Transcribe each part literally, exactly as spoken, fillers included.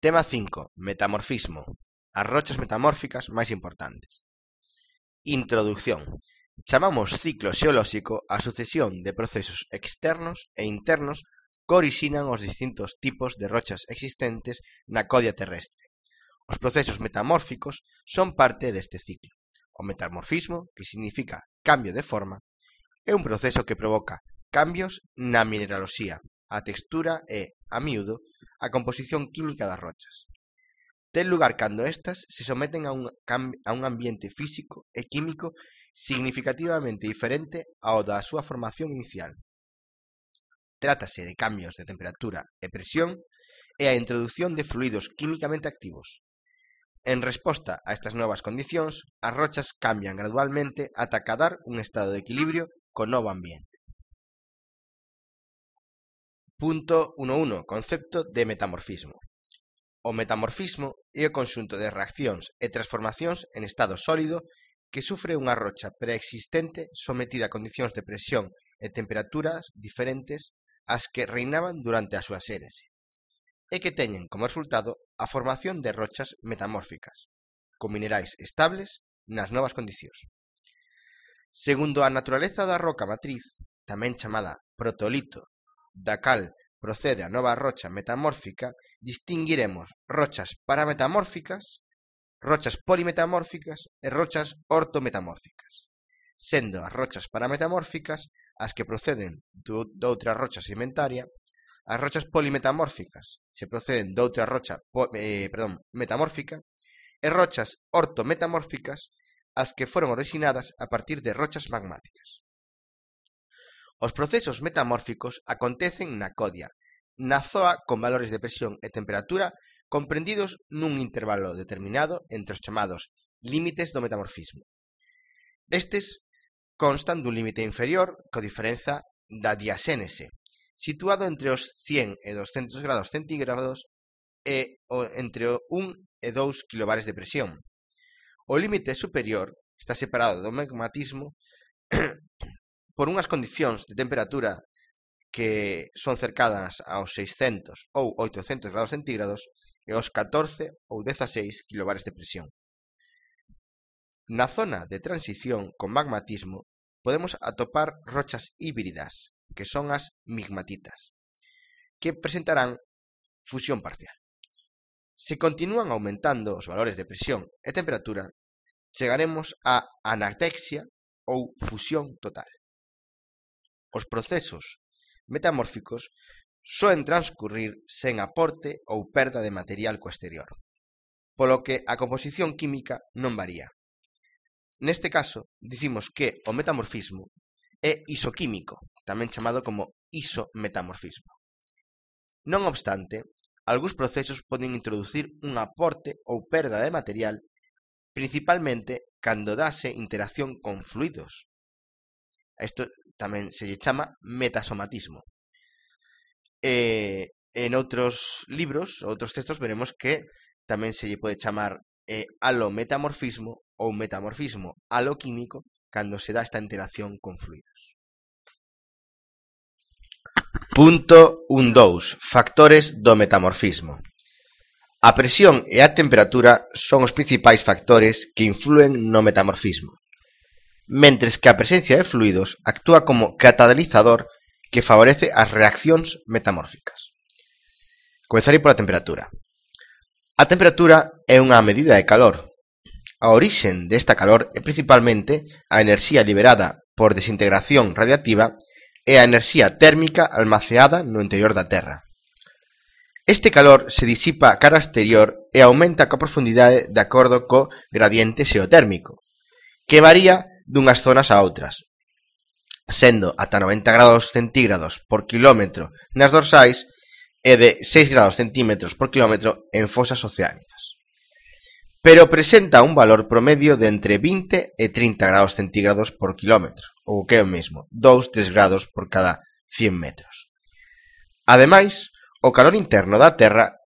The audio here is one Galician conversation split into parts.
Tema cinco. Metamorfismo. As rochas metamórficas máis importantes. Introducción. Chamamos ciclo xeolóxico a sucesión de procesos externos e internos que orixinan os distintos tipos de rochas existentes na codia terrestre. Os procesos metamórficos son parte deste ciclo. O metamorfismo, que significa cambio de forma, é un proceso que provoca cambios na mineraloxía, a textura e, a miúdo, a composición química das rochas. Ten lugar cando estas se someten a un, a un ambiente físico e químico significativamente diferente ao da súa formación inicial. Trátase de cambios de temperatura e presión e a introducción de fluidos químicamente activos. En resposta a estas novas condicións, as rochas cambian gradualmente ata acadar un estado de equilibrio co novo ambiente. Punto uno punto uno. Concepto de metamorfismo. O metamorfismo é o conxunto de reaccións e transformacións en estado sólido que sufre unha rocha preexistente sometida a condicións de presión e temperaturas diferentes ás que reinaban durante a súa xénese, e que teñen como resultado a formación de rochas metamórficas, con minerais estables nas novas condicións. Segundo a naturaleza da roca matriz, tamén chamada protolito, da cal procede a nova rocha metamórfica, distinguiremos rochas parametamórficas, rochas polimetamórficas e rochas ortometamórficas, sendo as rochas parametamórficas as que proceden doutra rocha sedimentaria, as rochas polimetamórficas se proceden doutra rocha eh, perdón, metamórfica e rochas ortometamórficas as que foron originadas a partir de rochas magmáticas. Os procesos metamórficos acontecen na codia, na zoa con valores de presión e temperatura comprendidos nun intervalo determinado entre os chamados límites do metamorfismo. Estes constan dun límite inferior que o diferenza da diaxénese, situado entre os cen e doscentos grados centígrados e entre un e dous kilobares de presión. O límite superior está separado do magmatismo por unhas condicións de temperatura que son cercanas aos seiscentos ou oitocentos grados centígrados e aos catorce ou dezaseis kilobares de presión. Na zona de transición con magmatismo podemos atopar rochas híbridas, que son as migmatitas, que presentarán fusión parcial. Se continúan aumentando os valores de presión e temperatura, chegaremos a anatexia ou fusión total. Os procesos metamórficos soen transcurrir sen aporte ou perda de material co exterior, polo que a composición química non varía. Neste caso, dicimos que o metamorfismo é isoquímico, tamén chamado como isometamorfismo. Non obstante, algúns procesos poden introducir un aporte ou perda de material, principalmente cando dase interacción con fluidos. Isto tamén se lle chama metasomatismo. E, en outros libros, outros textos, veremos que tamén se lle pode chamar eh, alometamorfismo ou metamorfismo aloquímico cando se dá esta interacción con fluidos. Punto un punto dous. Factores do metamorfismo. A presión e a temperatura son os principais factores que influen no metamorfismo, mentres que a presencia de fluidos actúa como catalizador que favorece as reaccións metamórficas. Comezarei pola temperatura. A temperatura é unha medida de calor. A orixen desta calor é principalmente a enerxía liberada por desintegración radiativa e a enerxía térmica almaceada no interior da Terra. Este calor se disipa cara exterior e aumenta coa profundidade de acordo co gradiente xeotérmico, que varía dunhas zonas a outras, sendo ata noventa grados centígrados por kilómetro nas dorsais e de seis grados centímetros por kilómetro en fosas oceánicas. Pero presenta un valor promedio de entre vinte e trinta grados centígrados por kilómetro, ou que é o mesmo, dous a tres grados por cada cien metros. Ademais, o calor interno da Terra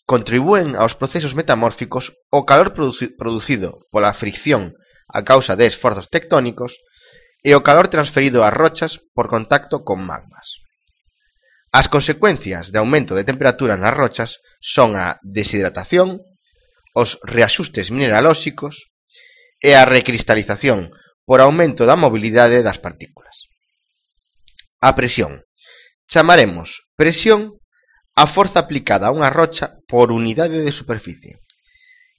contribúen aos procesos metamórficos o calor produci producido pola fricción a causa de esforzos tectónicos e o calor transferido ás rochas por contacto con magmas. As consecuencias de aumento de temperatura nas rochas son a deshidratación, os reaxustes mineralóxicos e a recristalización por aumento da mobilidade das partículas. A presión. Chamaremos presión a forza aplicada a unha rocha por unidade de superficie.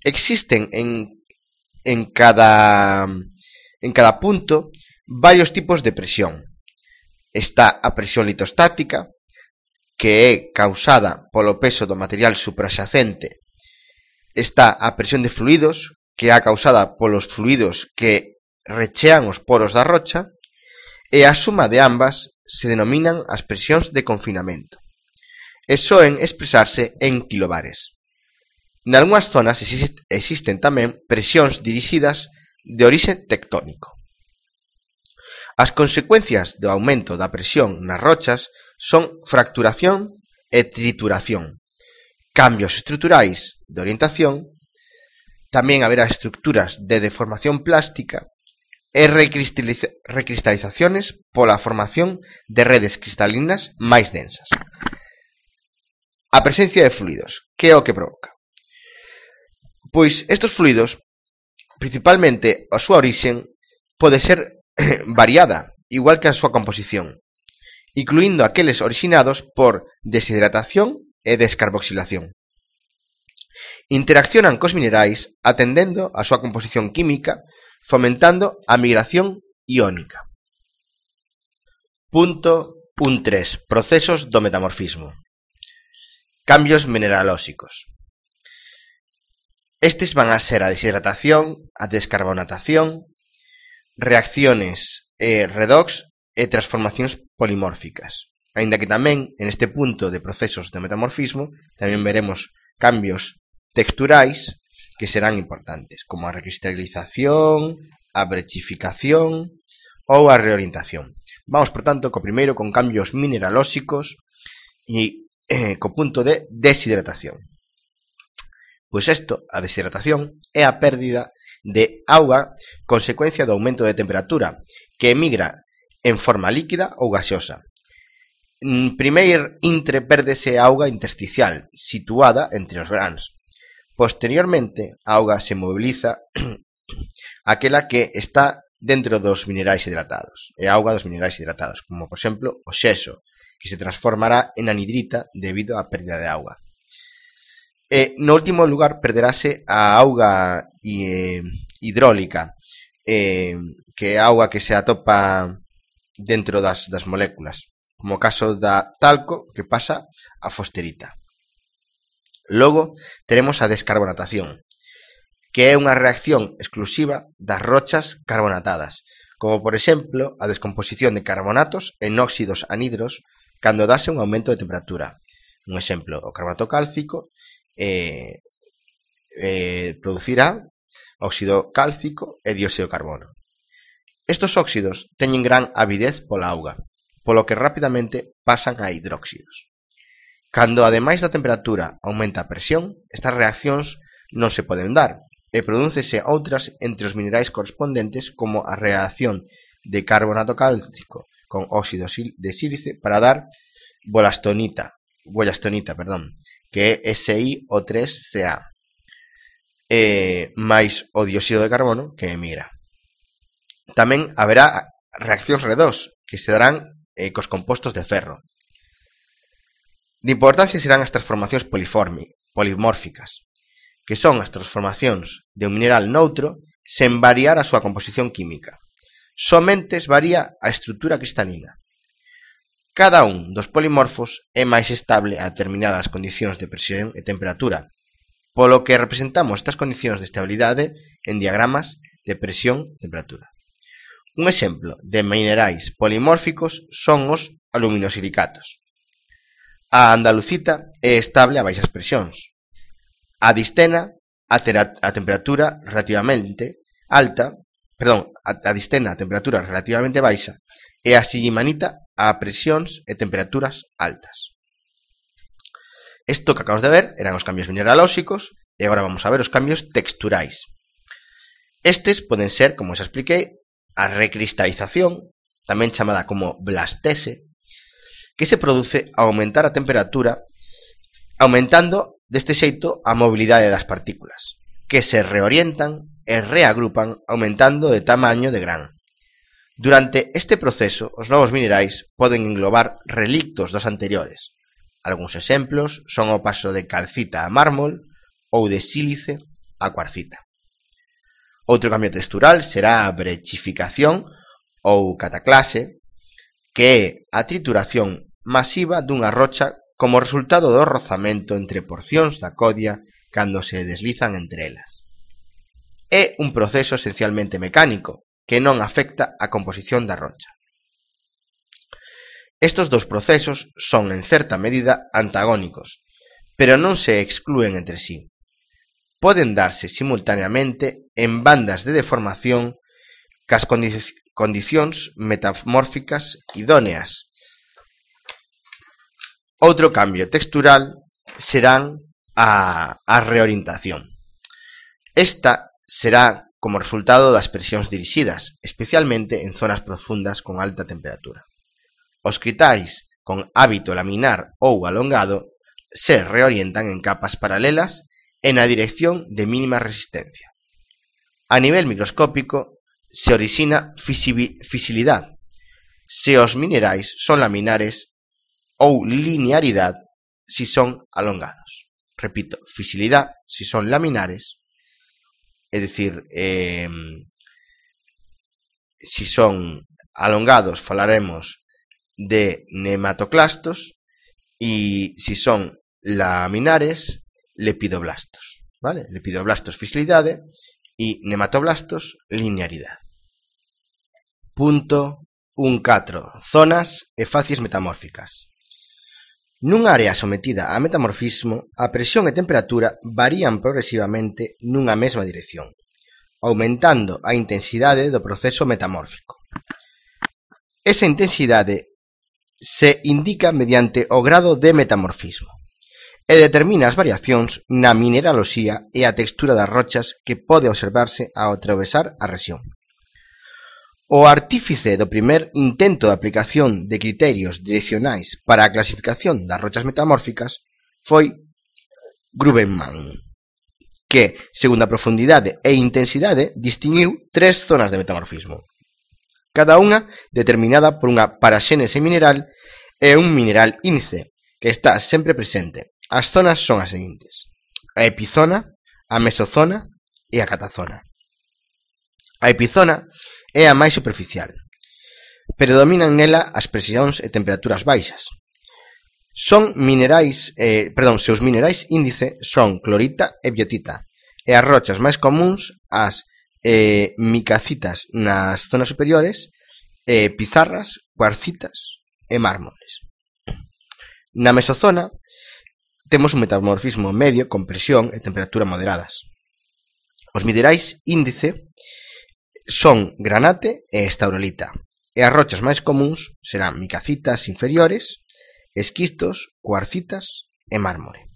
Existen en, en, cada, en cada punto varios tipos de presión. Está a presión litostática, que é causada polo peso do material supraxacente. Está a presión de fluidos, que é causada polos fluidos que rechean os poros da rocha, e a suma de ambas se denominan as presións de confinamento, e soen expresarse en kilobares. Nalgunhas zonas existen tamén presións dirixidas de orixe tectónico. As consecuencias do aumento da presión nas rochas son fracturación e trituración, cambios estruturais de orientación, tamén haberá estructuras de deformación plástica e recristalizaciones pola formación de redes cristalinas máis densas. A presencia de fluidos, que é o que provoca? Pois estes fluidos, principalmente a súa orixen, pode ser variada, igual que a súa composición, incluindo aqueles orixinados por deshidratación e descarboxilación. Interaccionan cos minerais atendendo a súa composición química, fomentando a migración iónica. Punto uno punto tres. Procesos do metamorfismo. Cambios mineralóxicos. Estes van a ser a deshidratación, a descarbonatación, reacciones eh, redox e transformacións polimórficas. Aínda que tamén, en este punto de procesos de metamorfismo, tamén veremos cambios texturais que serán importantes, como a recristalización, a brechificación ou a reorientación. Vamos, por tanto, co primeiro con cambios mineralóxicos e eh, co punto de deshidratación. Pois isto, a deshidratación, é a pérdida de auga consecuencia do aumento de temperatura que emigra en forma líquida ou gaseosa. Primeiro intre pérdese auga intersticial situada entre os grans. Posteriormente, a auga se moviliza aquela que está dentro dos minerais hidratados, é a auga dos minerais hidratados, como por exemplo o xeso, que se transformará en anhidrita debido á pérdida de auga. E, no último lugar, perderase a auga eh, hidráulica, eh, que é a auga que se atopa dentro das, das moléculas, como o caso da talco, que pasa a fosterita. Logo, teremos a descarbonatación, que é unha reacción exclusiva das rochas carbonatadas, como por exemplo a descomposición de carbonatos en óxidos anhidros cando dase un aumento de temperatura. Un exemplo, o carbonato cálcico eh, eh, producirá óxido cálcico e dióxido de carbono. Estos óxidos teñen gran avidez pola auga, polo que rapidamente pasan a hidróxidos. Cando, ademais da temperatura, aumenta a presión, estas reaccións non se poden dar, e prodúcese outras entre os minerais correspondentes, como a reacción de carbonato cálcico con óxido de sílice para dar bolastonita, bolastonita, perdón, que é S I O tres C A, e máis o dióxido de carbono que emigra. Tamén haberá reaccións redox, que se darán eh, cos compostos de ferro. De importancia serán as transformacións polimórficas, que son as transformacións de un mineral noutro sen variar a súa composición química. Somente varía a estrutura cristalina. Cada un dos polimorfos é máis estable a determinadas condicións de presión e temperatura, polo que representamos estas condicións de estabilidade en diagramas de presión e temperatura. Un exemplo de minerais polimórficos son os aluminosilicatos. A andalucita é estable a baixas presións. A distena a, a temperatura relativamente alta, perdón, a, a distena a temperatura relativamente baixa e a sillimanita a presións e temperaturas altas. Isto que acabamos de ver eran os cambios mineralóxicos e agora vamos a ver os cambios texturais. Estes poden ser, como xa expliquei, a recristalización, tamén chamada como blastese, que se produce ao aumentar a temperatura, aumentando deste xeito a mobilidade das partículas, que se reorientan e reagrupan aumentando de tamaño de gran. Durante este proceso, os novos minerais poden englobar relictos dos anteriores. Algúns exemplos son o paso de calcita a mármol ou de sílice a cuarcita. Outro cambio textural será a brechificación ou cataclase, que é a trituración masiva dunha rocha como resultado do rozamento entre porcións da codia cando se deslizan entre elas. É un proceso esencialmente mecánico que non afecta a composición da rocha. Estos dous procesos son en certa medida antagónicos, pero non se exclúen entre sí. Poden darse simultaneamente en bandas de deformación cas condici- condicións metamórficas idóneas. Outro cambio textural serán a, a reorientación. Esta será como resultado das presións dirixidas, especialmente en zonas profundas con alta temperatura. Os cristais con hábito laminar ou alongado se reorientan en capas paralelas e na dirección de mínima resistencia. A nivel microscópico se orixina fisilidade se os minerais son laminares ou linearidade si son alongados. Repito, fisilidade si son laminares, é dicir, eh, si son alongados falaremos de nematoclastos e si son laminares, lepidoblastos. Vale? Lepidoblastos fisilidade e nematoblastos linearidade. Punto un punto catro. Zonas e facies metamórficas. Nunha área sometida a metamorfismo, a presión e temperatura varían progresivamente nunha mesma dirección, aumentando a intensidade do proceso metamórfico. Esa intensidade se indica mediante o grado de metamorfismo e determina as variacións na mineraloxía e a textura das rochas que pode observarse ao atravesar a rexión. O artífice do primer intento de aplicación de criterios direccionais para a clasificación das rochas metamórficas foi Grubenman, que, segundo a profundidade e intensidade, distinguiu tres zonas de metamorfismo, cada unha determinada por unha paraxénese mineral e un mineral índice, que está sempre presente. As zonas son as seguintes: a epizona, a mesozona e a catazona. A epizona é a máis superficial. Predominan nela as presións e temperaturas baixas. Son minerais, eh, perdón, seus minerais índice son clorita e biotita, e as rochas máis comúns as eh, micacitas nas zonas superiores, eh, pizarras, cuarcitas e mármoles. Na mesozona temos un metamorfismo medio con presión e temperatura moderadas. Os minerais índice son granate e estaurolita, e as rochas máis comúns serán micacitas inferiores, esquistos, cuarcitas e mármore.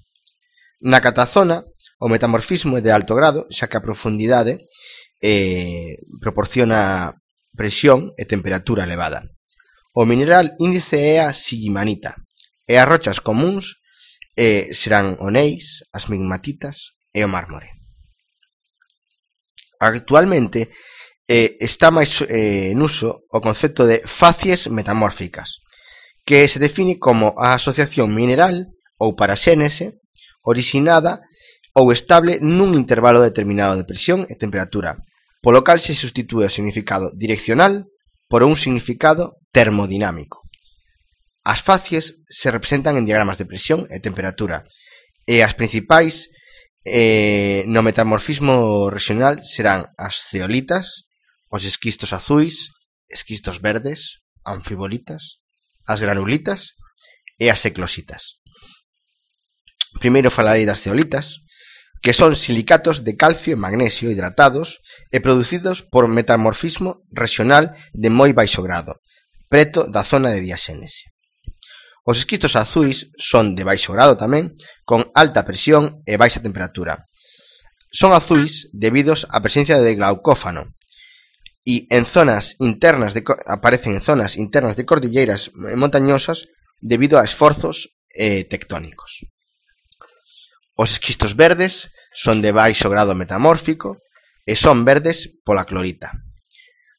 Na catazona, o metamorfismo é de alto grado, xa que a profundidade eh, proporciona presión e temperatura elevada. O mineral índice é a sillimanita, e as rochas comúns eh, serán o neis, as migmatitas e o mármore. Actualmente eh, está máis eh, en uso o concepto de facies metamórficas, que se define como a asociación mineral ou paraxénese orixinada ou estable nun intervalo determinado de presión e temperatura, polo cal se substitúe o significado direccional por un significado termodinámico. As facies se representan en diagramas de presión e temperatura, e as principais eh, no metamorfismo regional serán as zeolitas, os esquistos azuis, esquistos verdes, anfibolitas, as granulitas e as eclositas. Primeiro falarei das zeolitas, que son silicatos de calcio e magnesio hidratados e producidos por metamorfismo regional de moi baixo grado, preto da zona de diaxénese. Os esquistos azuis son de baixo grado tamén, con alta presión e baixa temperatura. Son azuis debidos á presencia de glaucófano, e en zonas internas de, aparecen en zonas internas de cordilleiras montañosas debido a esforzos eh, tectónicos. Os esquistos verdes son de baixo grado metamórfico e son verdes pola clorita.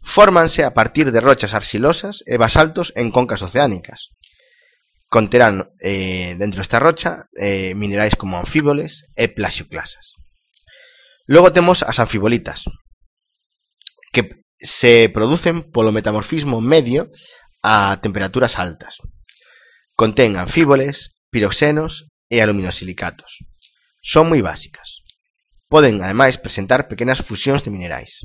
Fórmanse a partir de rochas arxilosas e basaltos en concas oceánicas. Conterán eh, dentro desta rocha eh, minerais como anfíboles e plaxioclasas. Logo temos as anfibolitas, que se producen polo metamorfismo medio a temperaturas altas. Contén anfíboles, piroxenos e aluminosilicatos. Son moi básicas. Poden, ademais, presentar pequenas fusións de minerais.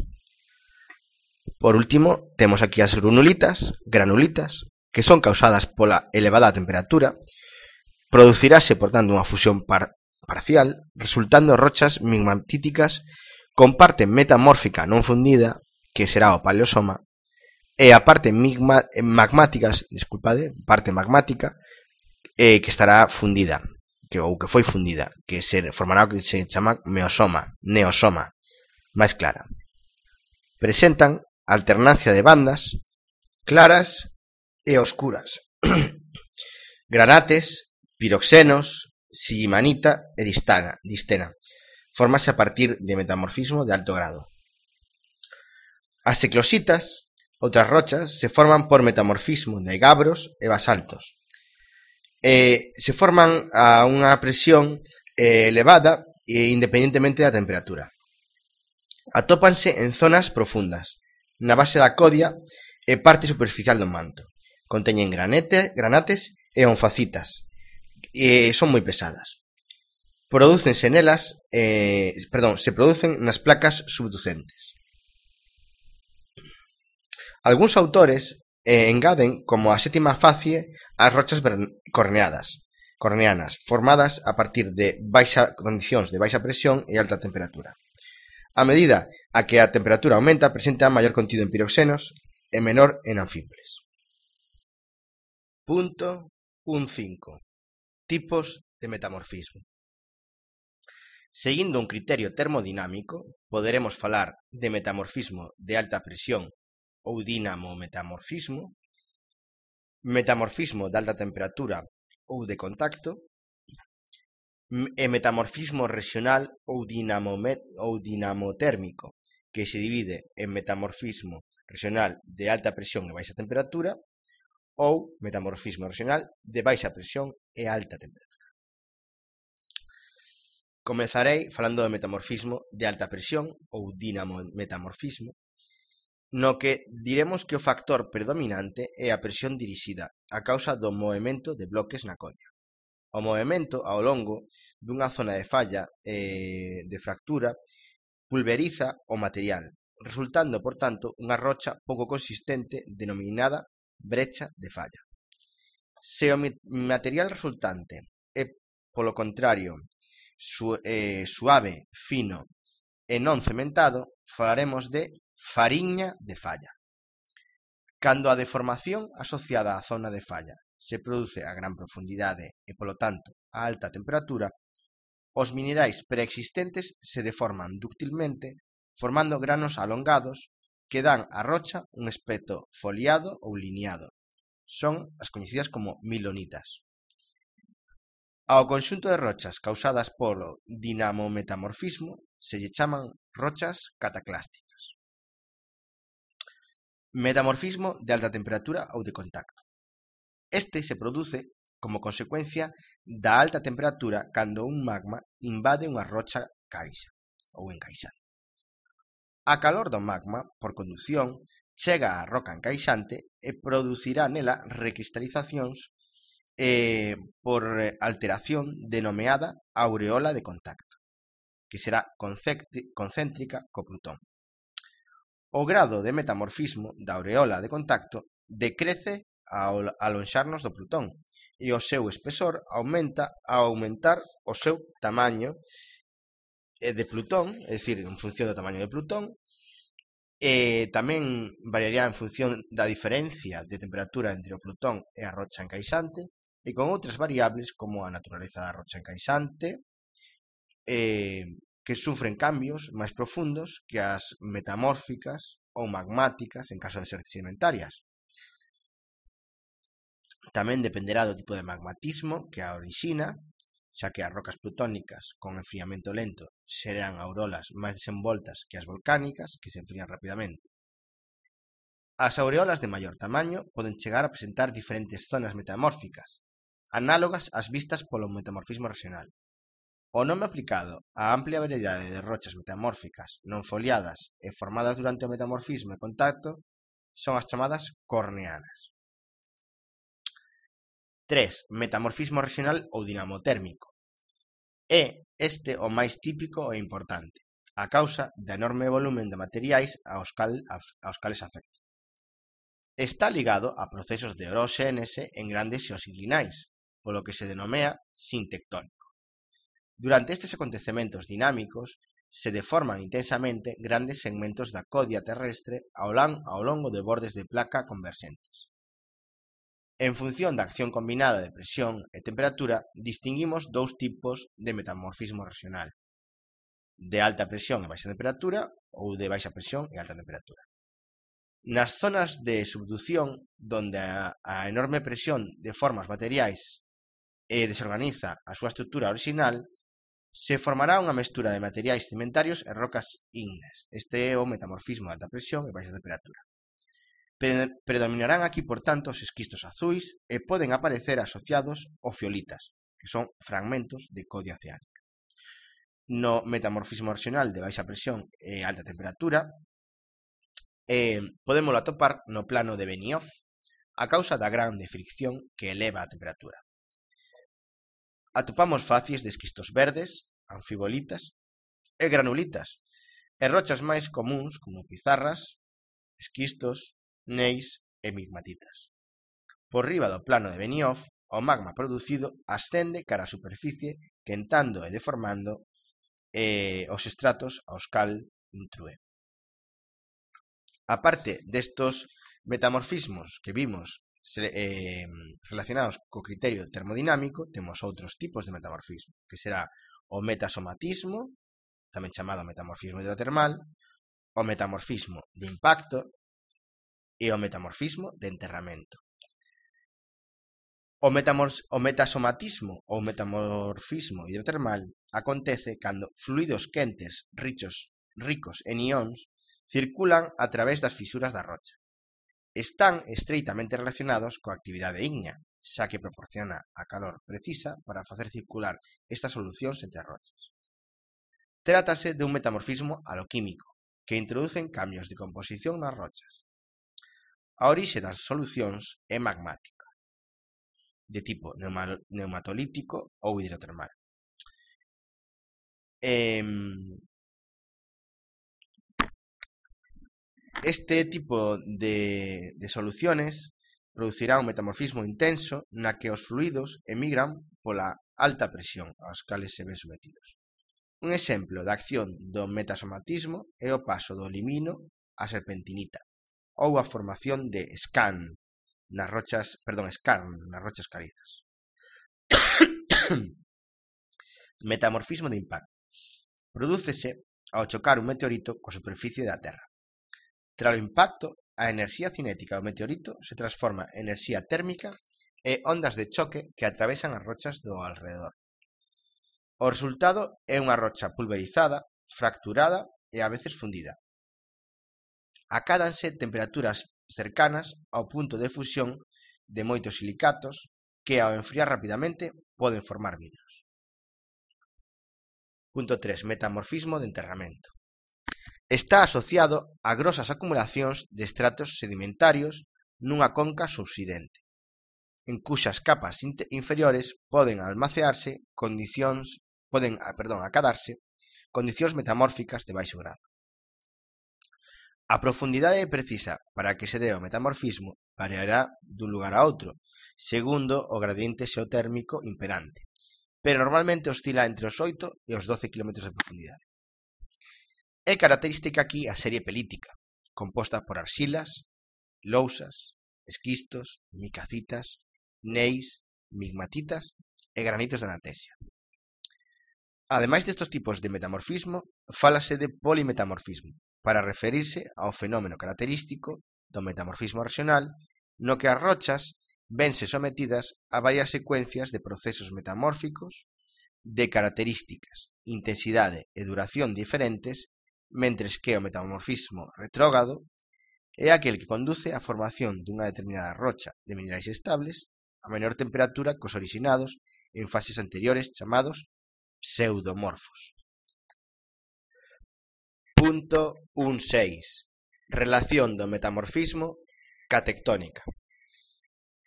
Por último, temos aquí as granulitas, granulitas, que son causadas pola elevada temperatura. Producirase, por tanto, unha fusión par parcial, resultando rochas migmatíticas con parte metamórfica non fundida, que será o paleosoma, e a parte migma magmáticas, disculpade, parte magmática, eh, que estará fundida, que, ou que foi fundida, que se formará o que se chama meosoma, neosoma, máis clara. Presentan alternancia de bandas claras e oscuras, granates, piroxenos, sillimanita e distana, distena. Fórmase a partir de metamorfismo de alto grado. As eclositas, outras rochas, se forman por metamorfismo de gabros e basaltos. Eh, se forman a unha presión eh, elevada e independentemente da temperatura. Atópanse en zonas profundas, na base da codia e parte superficial do manto. Conteñen granete, granates e onfacitas, e son moi pesadas. Prodúcense nelas, eh, perdón, se producen nas placas subducentes. Algúns autores eh, engaden como a sétima facie as rochas corneadas, corneanas, formadas a partir de baixa condicións de baixa presión e alta temperatura. A medida a que a temperatura aumenta, presenta maior contido en piroxenos e menor en anfíboles. Punto un punto cinco. Tipos de metamorfismo. Seguindo un criterio termodinámico, poderemos falar de metamorfismo de alta presión ou dinamometamorfismo, metamorfismo de alta temperatura ou de contacto, e metamorfismo regional ou, ou dinamotérmico, que se divide en metamorfismo regional de alta presión e baixa temperatura ou metamorfismo regional de baixa presión e alta temperatura. Comezarei falando do metamorfismo de alta presión ou dinamometamorfismo, no que diremos que o factor predominante é a presión dirixida a causa do movemento de bloques na codia. O movemento ao longo dunha zona de falla e de fractura pulveriza o material, resultando, por tanto, unha rocha pouco consistente denominada brecha de falla. Se o material resultante é, polo contrario, su, eh, suave, fino e non cementado, falaremos de fariña de falla. Cando a deformación asociada á zona de falla se produce a gran profundidade e, polo tanto, a alta temperatura, os minerais preexistentes se deforman dúctilmente, formando granos alongados que dan á rocha un aspecto foliado ou lineado. Son as coñecidas como milonitas. Ao conxunto de rochas causadas polo dinamometamorfismo se lle chaman rochas cataclásticas. Metamorfismo de alta temperatura ou de contacto. Este se produce como consecuencia da alta temperatura cando un magma invade unha rocha caixa ou encaixada. A calor do magma, por conducción, chega á roca encaixante e producirá nela recristalizacións eh, por alteración denomeada aureola de contacto, que será concéntrica co Plutón. O grado de metamorfismo da aureola de contacto decrece ao alonxarnos do Plutón e o seu espesor aumenta ao aumentar o seu tamaño de Plutón, é dicir, en función do tamaño de Plutón, e tamén variaría en función da diferencia de temperatura entre o Plutón e a rocha encaixante, e con outras variables como a naturaleza da rocha encaixante, eh, que sufren cambios máis profundos que as metamórficas ou magmáticas en caso de ser sedimentarias. Tamén dependerá do tipo de magmatismo que a orixina xa que as rocas plutónicas con enfriamento lento serán auroras máis desenvoltas que as volcánicas, que se enfrían rapidamente. As aureolas de maior tamaño poden chegar a presentar diferentes zonas metamórficas, análogas ás vistas polo metamorfismo regional. O nome aplicado á amplia variedade de rochas metamórficas non foliadas e formadas durante o metamorfismo e contacto son as chamadas corneanas. tres. Metamorfismo regional ou dinamotérmico. É este o máis típico e importante, a causa do enorme volumen de materiais aos, cal, aos cales afecta. Está ligado a procesos de eróxénese en grandes xeosinclinais, polo que se denomea sintectónico. Durante estes acontecementos dinámicos se deforman intensamente grandes segmentos da codia terrestre ao longo de bordes de placa converxentes. En función da acción combinada de presión e temperatura, distinguimos dous tipos de metamorfismo regional: de alta presión e baixa temperatura ou de baixa presión e alta temperatura. Nas zonas de subducción, donde a, a enorme presión deforma os materiais e desorganiza a súa estrutura original, se formará unha mestura de materiais cimentarios e rocas ígneas. Este é o metamorfismo de alta presión e baixa temperatura. Predominarán aquí, por tanto, os esquistos azuis e poden aparecer asociados aos fiolitas, que son fragmentos de codia oceánica. No metamorfismo regional de baixa presión e alta temperatura, eh, podemos atopar no plano de Benioff a causa da grande fricción que eleva a temperatura. Atopamos facies de esquistos verdes, anfibolitas e granulitas, e rochas máis comúns como pizarras, esquistos, neis e migmatitas. Por riba do plano de Benioff, o magma producido ascende cara á superficie, quentando e deformando eh, os estratos aos cal intrúe. A parte destos metamorfismos que vimos eh, relacionados co criterio termodinámico, temos outros tipos de metamorfismo, que será o metasomatismo, tamén chamado metamorfismo hidrotermal, o metamorfismo de impacto e o metamorfismo de enterramento. O, o metasomatismo ou metamorfismo hidrotermal acontece cando fluidos quentes richos, ricos en ións circulan a través das fisuras da rocha. Están estreitamente relacionados coa actividade ígnea, xa que proporciona a calor precisa para facer circular estas solucións entre as rochas. Trátase de un metamorfismo aloquímico, que introducen cambios de composición nas rochas. A orixe das solucións é magmática, de tipo neumatolítico ou hidrotermal. Este tipo de, de soluciones producirá un metamorfismo intenso na que os fluidos emigran pola alta presión aos cales se ven sometidos. Un exemplo da acción do metasomatismo é o paso do limino á serpentinita, ou a formación de scan nas rochas, perdón, skarn nas rochas calizas. Metamorfismo de impacto. Prodúcese ao chocar un meteorito coa superficie da Terra. Tras o impacto, a enerxía cinética do meteorito se transforma en enerxía térmica e ondas de choque que atravesan as rochas do alrededor. O resultado é unha rocha pulverizada, fracturada e a veces fundida. Acádanse temperaturas cercanas ao punto de fusión de moitos silicatos que, ao enfriar rapidamente, poden formar vidros. Punto tres. Metamorfismo de enterramento. Está asociado a grosas acumulacións de estratos sedimentarios nunha conca subsidente, en cuxas capas inferiores poden almacearse condicións, poden, perdón, acadarse condicións metamórficas de baixo grado. A profundidade precisa para que se dé o metamorfismo variará dun lugar a outro, segundo o gradiente xeotérmico imperante, pero normalmente oscila entre os oito e os doce kilómetros de profundidade. É característica aquí a serie pelítica, composta por arxilas, lousas, esquistos, micacitas, neis, migmatitas e granitos de anatesia. Ademais destes tipos de metamorfismo, fálase de polimetamorfismo, para referirse ao fenómeno característico do metamorfismo regional, no que as rochas vense sometidas a varias secuencias de procesos metamórficos de características, intensidade e duración diferentes, mentres que o metamorfismo retrógrado é aquel que conduce á formación dunha determinada rocha de minerais estables a menor temperatura que os orixinados en fases anteriores chamados pseudomorfos. Punto un punto seis. Relación do metamorfismo ca tectónica.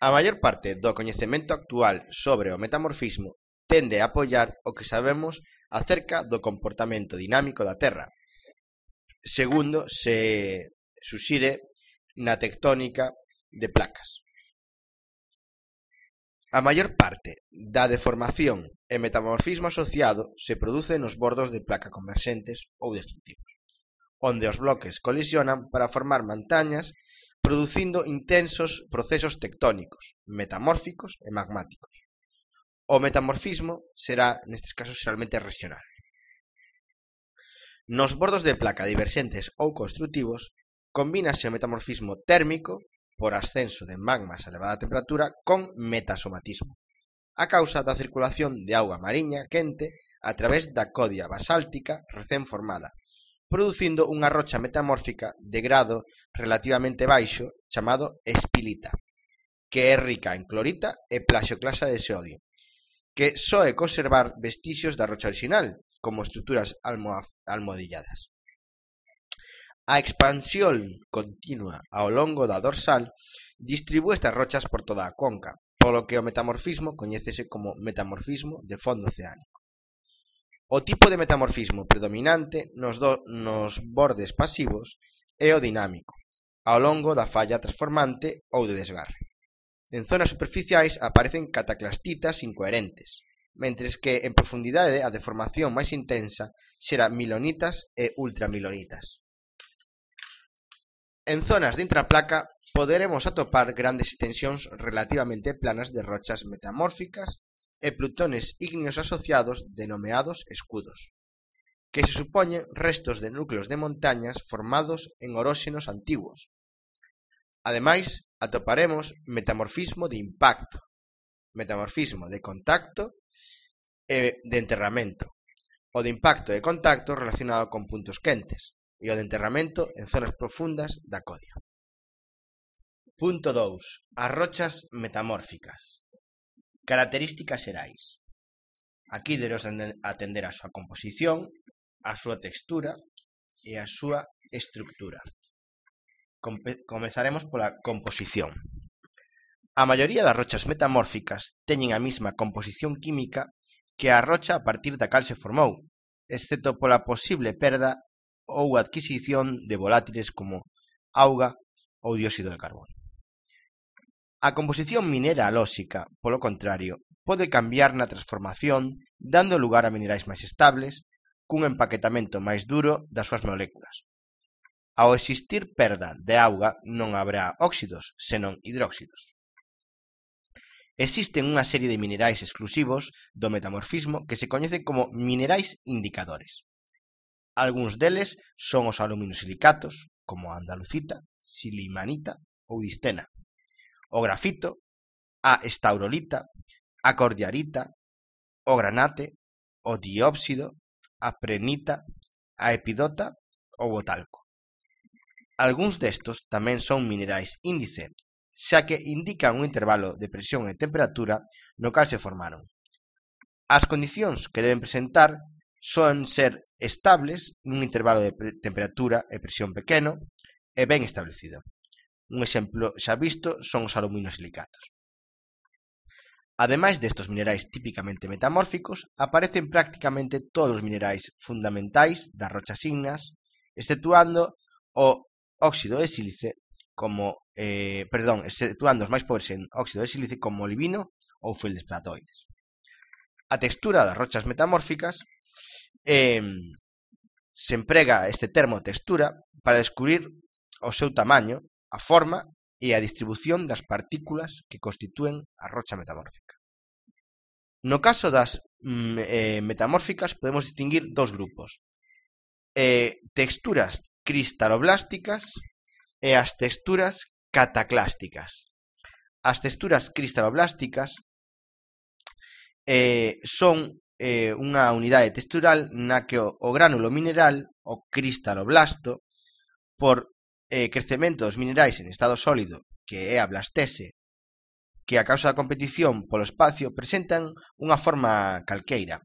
A maior parte do coñecemento actual sobre o metamorfismo tende a apoiar o que sabemos acerca do comportamento dinámico da Terra, segundo se suxire na tectónica de placas. A maior parte da deformación e metamorfismo asociado se produce nos bordos de placa converxentes ou destructivos, onde os bloques colisionan para formar montañas, producindo intensos procesos tectónicos, metamórficos e magmáticos. O metamorfismo será, nestes casos, xeralmente regional. Nos bordos de placa diverxentes ou construtivos, combínase o metamorfismo térmico, por ascenso de magmas a elevada temperatura, con metasomatismo, a causa da circulación de auga mariña quente a través da codia basáltica recén formada, producindo unha rocha metamórfica de grado relativamente baixo chamado espilita, que é rica en clorita e plaxioclasa de sodio, que só é conservar vestixios da rocha original, como estruturas almohadilladas. A expansión continua ao longo da dorsal distribúe estas rochas por toda a conca, polo que o metamorfismo coñécese como metamorfismo de fondo oceánico. O tipo de metamorfismo predominante nos, do, nos bordes pasivos é o dinámico, ao longo da falla transformante ou de desgarre. En zonas superficiais aparecen cataclastitas incoherentes, mentres que en profundidade a deformación máis intensa será milonitas e ultramilonitas. En zonas de intraplaca poderemos atopar grandes extensións relativamente planas de rochas metamórficas e plutones ígneos asociados denomeados escudos, que se supoñen restos de núcleos de montañas formados en oróxenos antiguos. Ademais, atoparemos metamorfismo de impacto, metamorfismo de contacto e de enterramento, o de impacto e contacto relacionado con puntos quentes, e o de enterramento en zonas profundas da codia. Punto dous. As rochas metamórficas. Características xerais. Aquí debemos atender a súa composición, a súa textura e a súa estructura. Comezaremos pola composición. A maioría das rochas metamórficas teñen a mesma composición química que a rocha a partir da cal se formou, excepto pola posible perda ou adquisición de volátiles como auga ou dióxido de carbono. A composición mineralóxica, polo contrario, pode cambiar na transformación, dando lugar a minerais máis estables, cun empaquetamento máis duro das súas moléculas. Ao existir perda de auga non haberá óxidos, senón hidróxidos. Existen unha serie de minerais exclusivos do metamorfismo que se coñecen como minerais indicadores. Algúns deles son os aluminosilicatos, como a andalucita, silimanita ou distena, o grafito, a estaurolita, a cordiarita, o granate, o diópsido, a prehnita, a epidota ou o talco. Algúns destos tamén son minerais índice, xa que indican un intervalo de presión e temperatura no cal se formaron. As condicións que deben presentar son ser estables nun intervalo de temperatura e presión pequeno e ben establecido. Un exemplo xa visto son os aluminosilicatos. Ademais destos minerais típicamente metamórficos, aparecen prácticamente todos os minerais fundamentais das rochas ígneas, exceptuando o óxido de sílice como eh, perdón, exceptuando os máis pobres en óxido de sílice como olivino ou feldspatoides. A textura das rochas metamórficas eh, se emprega este termo textura para descubrir o seu tamaño, a forma e a distribución das partículas que constitúen a rocha metamórfica. No caso das mm, eh, metamórficas podemos distinguir dos grupos: eh, texturas cristaloblásticas e as texturas cataclásticas. As texturas cristaloblásticas eh, son eh, unha unidade textural na que o, o gránulo mineral, o cristaloblasto, por eh, crecemento dos minerais en estado sólido, que é a blastese, que a causa da competición polo espacio presentan unha forma calqueira.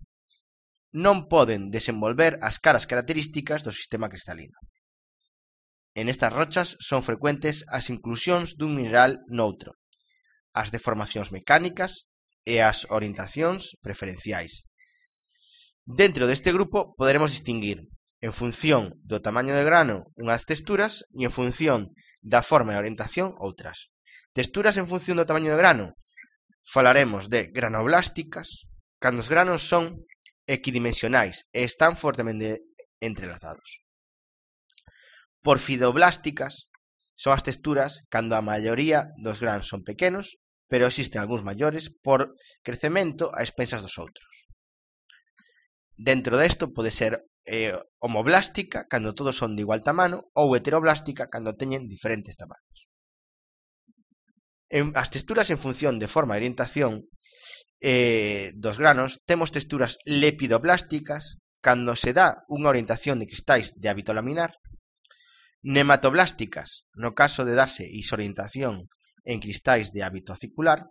Non poden desenvolver as caras características do sistema cristalino. En estas rochas son frecuentes as inclusións dun mineral noutro, as deformacións mecánicas e as orientacións preferenciais. Dentro deste grupo poderemos distinguir, en función do tamaño do grano, unhas texturas e en función da forma e orientación outras. Texturas en función do tamaño do grano. Falaremos de granoblásticas, cando os granos son equidimensionais e están fortemente entrelazados. Porfidoblásticas son as texturas cando a maioría dos granos son pequenos, pero existen algúns maiores por crecemento a expensas dos outros. Dentro desto pode ser eh, homoblástica, cando todos son de igual tamano, ou heteroblástica, cando teñen diferentes tamanos. En, as texturas en función de forma e orientación eh, dos granos, temos texturas lepidoblásticas, cando se dá unha orientación de cristais de hábito laminar, nematoblásticas, no caso de darse isorientación en cristais de hábito acicular,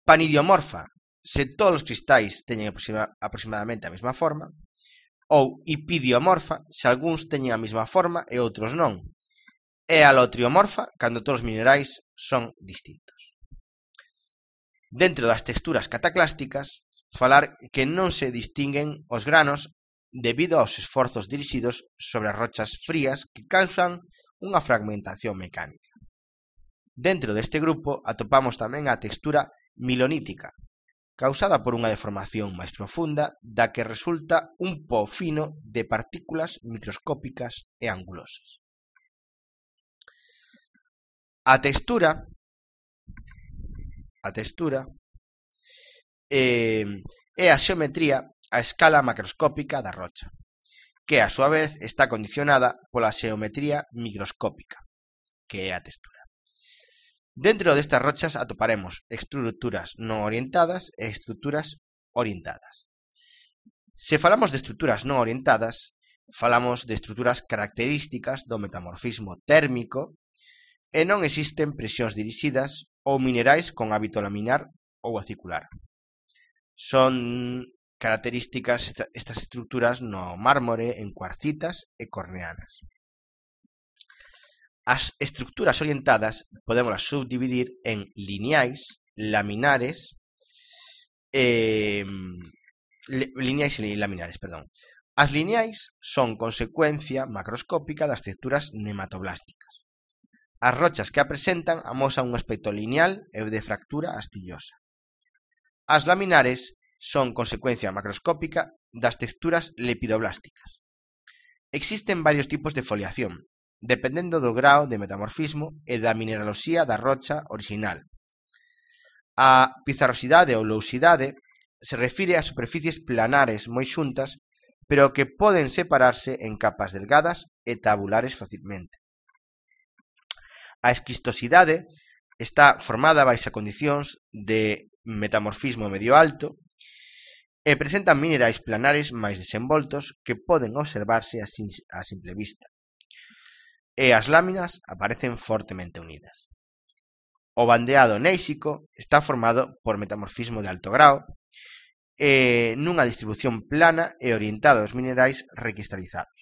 panidiomorfa, se todos os cristais teñen aproxima, aproximadamente a mesma forma, ou hipidiomorfa, se algúns teñen a mesma forma e outros non, e alotriomorfa, cando todos os minerais son distintos. Dentro das texturas cataclásticas, falar que non se distinguen os granos debido aos esforzos dirixidos sobre as rochas frías que causan unha fragmentación mecánica. Dentro deste grupo atopamos tamén a textura milonítica, causada por unha deformación máis profunda da que resulta un po fino de partículas microscópicas e angulosas. A textura a textura eh, é a xeometría a escala macroscópica da rocha, que a súa vez está condicionada pola xeometría microscópica, que é a textura. Dentro destas rochas atoparemos estruturas non orientadas e estruturas orientadas. Se falamos de estruturas non orientadas, falamos de estruturas características do metamorfismo térmico e non existen presións dirixidas ou minerais con hábito laminar ou acicular. Son características estas estruturas no mármore, en cuarcitas e corneanas. As estruturas orientadas podémoslas subdividir en lineais, laminares, eh, lineais e laminares, perdón. As lineais son consecuencia macroscópica das texturas nematoblásticas. As rochas que a presentan amosan un aspecto lineal e de fractura astillosa. As laminares son consecuencia macroscópica das texturas lepidoblásticas. Existen varios tipos de foliación, dependendo do grao de metamorfismo e da mineraloxía da rocha orixinal. A pizarrosidade ou lousidade se refire a superficies planares moi xuntas, pero que poden separarse en capas delgadas e tabulares facilmente. A esquistosidade está formada baixo condicións de metamorfismo medio alto e presentan minerais planares máis desenvoltos que poden observarse a simple vista. E as láminas aparecen fortemente unidas. O bandeado néisico está formado por metamorfismo de alto grao e nunha distribución plana e orientada aos minerais recristalizados.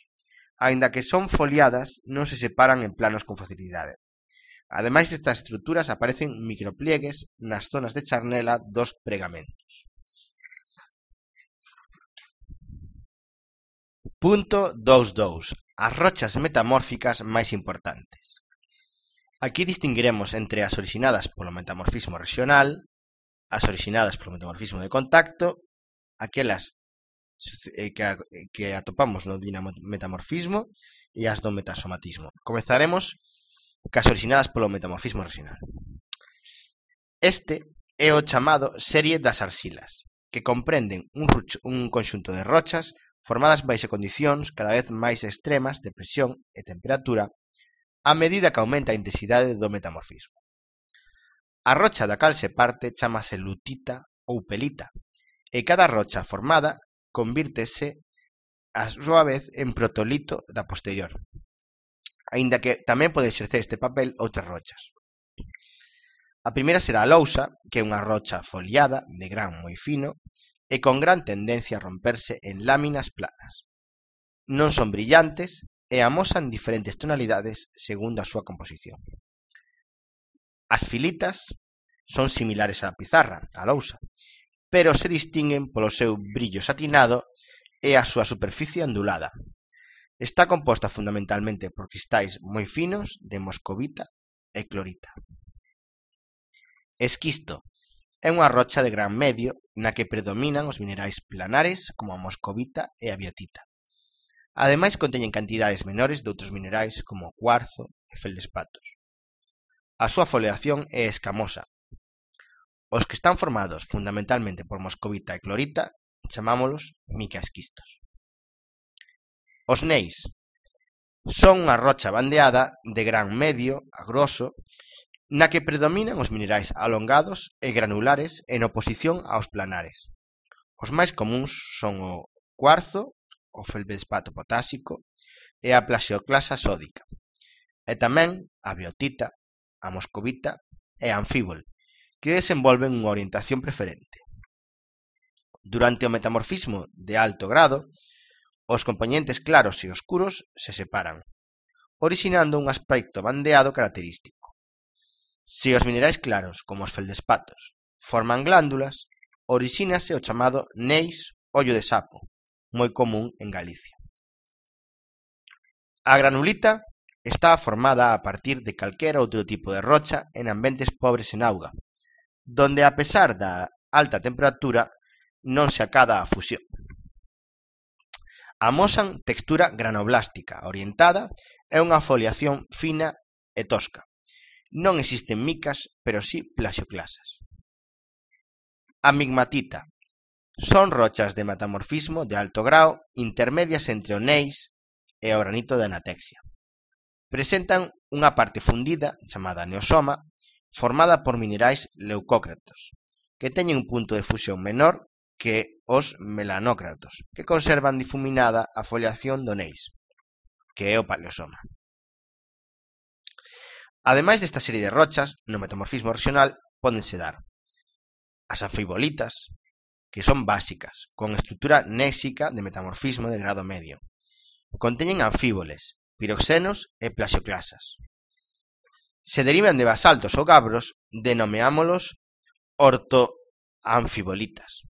Aínda que son foliadas, non se separan en planos con facilidade. Ademais destas estruturas aparecen micropliegues nas zonas de charnela dos pregamentos. Punto vinte e dous. As rochas metamórficas máis importantes. Aquí distinguiremos entre as originadas polo metamorfismo regional, as originadas polo metamorfismo de contacto, aquelas que atopamos no dinamometamorfismo e as do metasomatismo. Comezaremos cas originadas polo metamorfismo regional. Este é o chamado serie das arxilas, que comprenden un, un conxunto de rochas formadas baixo condicións cada vez máis extremas de presión e temperatura a medida que aumenta a intensidade do metamorfismo. A rocha da cal se parte chamase lutita ou pelita e cada rocha formada convírtese a súa vez en protolito da posterior, aínda que tamén pode exercer este papel outras rochas. A primeira será a lousa, que é unha rocha foliada de gran moi fino e con gran tendencia a romperse en láminas planas. Non son brillantes e amosan diferentes tonalidades segundo a súa composición. As filitas son similares á pizarra, á lousa, pero se distinguen polo seu brillo satinado e a súa superficie ondulada. Está composta fundamentalmente por cristais moi finos de moscovita e clorita. Esquisto é unha rocha de gran medio na que predominan os minerais planares como a moscovita e a biotita. Ademais, conteñen cantidades menores de outros minerais como o cuarzo e feldespatos. A súa foliación é escamosa. Os que están formados fundamentalmente por moscovita e clorita chamámolos micaesquistos. Os neis son unha rocha bandeada de gran medio a groso na que predominan os minerais alongados e granulares en oposición aos planares. Os máis comuns son o cuarzo, o feldespato potásico e a plaxioclasa sódica, e tamén a biotita, a moscovita e a anfíbol, que desenvolven unha orientación preferente. Durante o metamorfismo de alto grado, os compoñentes claros e oscuros se separan, orixinando un aspecto bandeado característico. Se os minerais claros, como os feldespatos, forman glándulas, orixínase o chamado neis ollo de sapo, moi común en Galicia. A granulita está formada a partir de calquera outro tipo de rocha en ambientes pobres en auga, donde a pesar da alta temperatura non se acada a fusión. Amosan textura granoblástica orientada e unha foliación fina e tosca. Non existen micas, pero sí plaxioclasas. A migmatita son rochas de metamorfismo de alto grao intermedias entre o neis e o granito de anatexia. Presentan unha parte fundida, chamada neosoma, formada por minerais leucócratos, que teñen un punto de fusión menor que os melanócratos, que conservan difuminada a foliación do neis, que é o paleosoma. Ademais desta serie de rochas, no metamorfismo regional pódense dar as anfibolitas, que son básicas, con estrutura néxica de metamorfismo de grado medio. Conteñen anfíboles, piroxenos e plaxioclasas. Se derivan de basaltos ou gabros, denomeámolos ortoanfibolitas,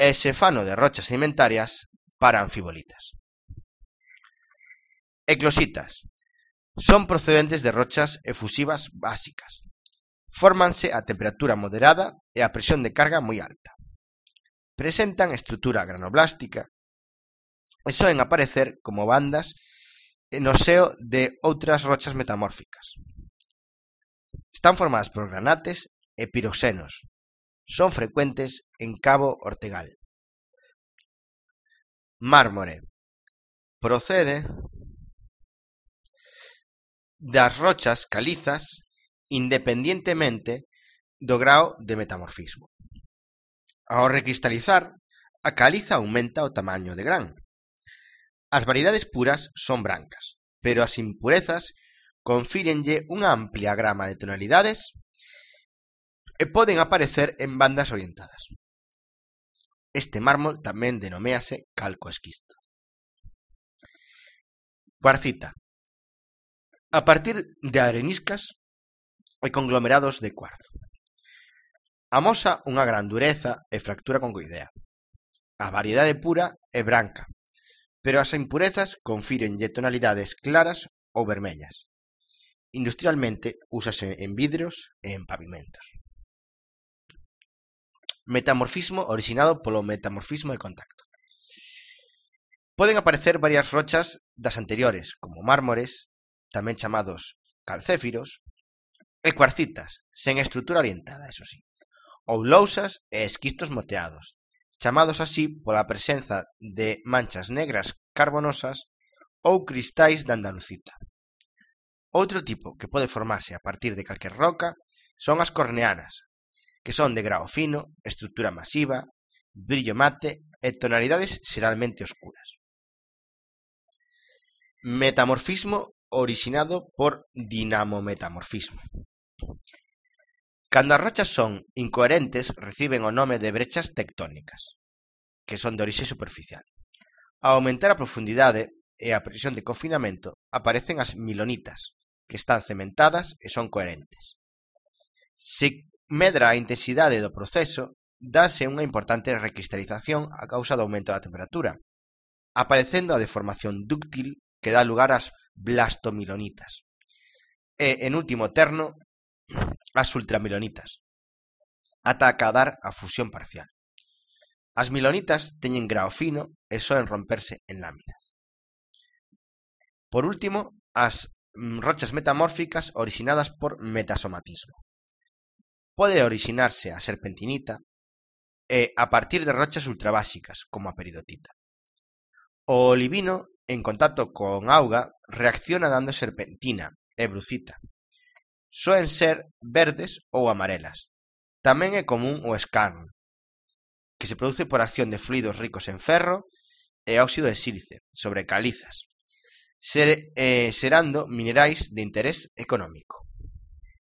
e se fano de rochas sedimentarias para anfibolitas. Eclositas son procedentes de rochas efusivas básicas. Fórmanse a temperatura moderada e a presión de carga moi alta. Presentan estrutura granoblástica e soen aparecer como bandas no seo de outras rochas metamórficas. Están formadas por granates e piroxenos. Son frecuentes en Cabo Ortegal. Mármore procede das rochas calizas independientemente do grao de metamorfismo. Ao recristalizar, a caliza aumenta o tamaño de gran. As variedades puras son brancas, pero as impurezas confírenlle unha amplia grama de tonalidades e poden aparecer en bandas orientadas. Este mármol tamén denoméase calcoesquisto. Cuarcita. A partir de areniscas e conglomerados de cuarzo. Amosa unha gran dureza e fractura concoidea. A variedade pura é branca, pero as impurezas confírenlle tonalidades claras ou vermellas. Industrialmente úsase en vidros e en pavimentos. Metamorfismo originado polo metamorfismo de contacto. Poden aparecer varias rochas das anteriores, como mármores, tamén chamados calcéfiros, e cuarcitas, sen estrutura orientada, eso sí, ou lousas e esquistos moteados, chamados así pola presenza de manchas negras carbonosas ou cristais de andalucita. Outro tipo que pode formarse a partir de calquer roca son as corneanas, que son de grao fino, estrutura masiva brillo mate e tonalidades xeralmente oscuras. Metamorfismo orixinado por dinamometamorfismo. Cando as rochas son incoherentes, reciben o nome de brechas tectónicas, que son de orixe superficial. Ao aumentar a profundidade e a presión de confinamento, aparecen as milonitas, que están cementadas e son coherentes. Se medra a intensidade do proceso, dáse unha importante recristalización a causa do aumento da temperatura, aparecendo a deformación dúctil que dá lugar ás blastomilonitas e, en último terno, as ultramilonitas, ata acadar a fusión parcial. As milonitas teñen grao fino e soen romperse en láminas. Por último, as rochas metamórficas orixinadas por metasomatismo. Pode orixinarse a serpentinita e a partir de rochas ultrabásicas, como a peridotita. O olivino, en contacto con auga, reacciona dando serpentina e brucita. Soen ser verdes ou amarelas. Tamén é común o escarn, que se produce por acción de fluidos ricos en ferro e óxido de sílice sobre calizas, ser, eh, serando minerais de interés económico.